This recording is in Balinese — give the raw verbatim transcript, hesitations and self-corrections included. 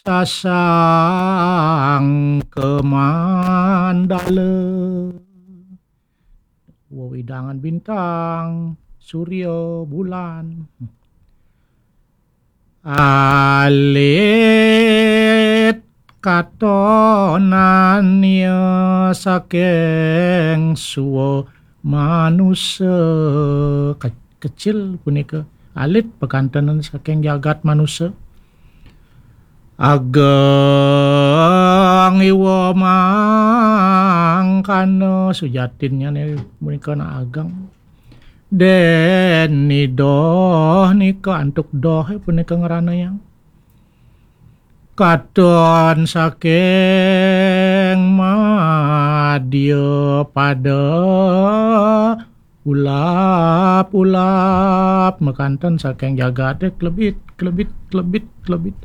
Sasang kemandala, wewidangan bintang, surya, bulan. Alit katonannya saking sua manusa. Ke- kecil punika, alit pakantenan saking jagat manusa. Ageng iwa mangkana, sujatinnya punika na ageng. Deni doh nika, antuk doh punika ngeranayang. Katon saking madya pada ulap-ulap makanten saking jagate, klebit, klebit, klebit, klebit.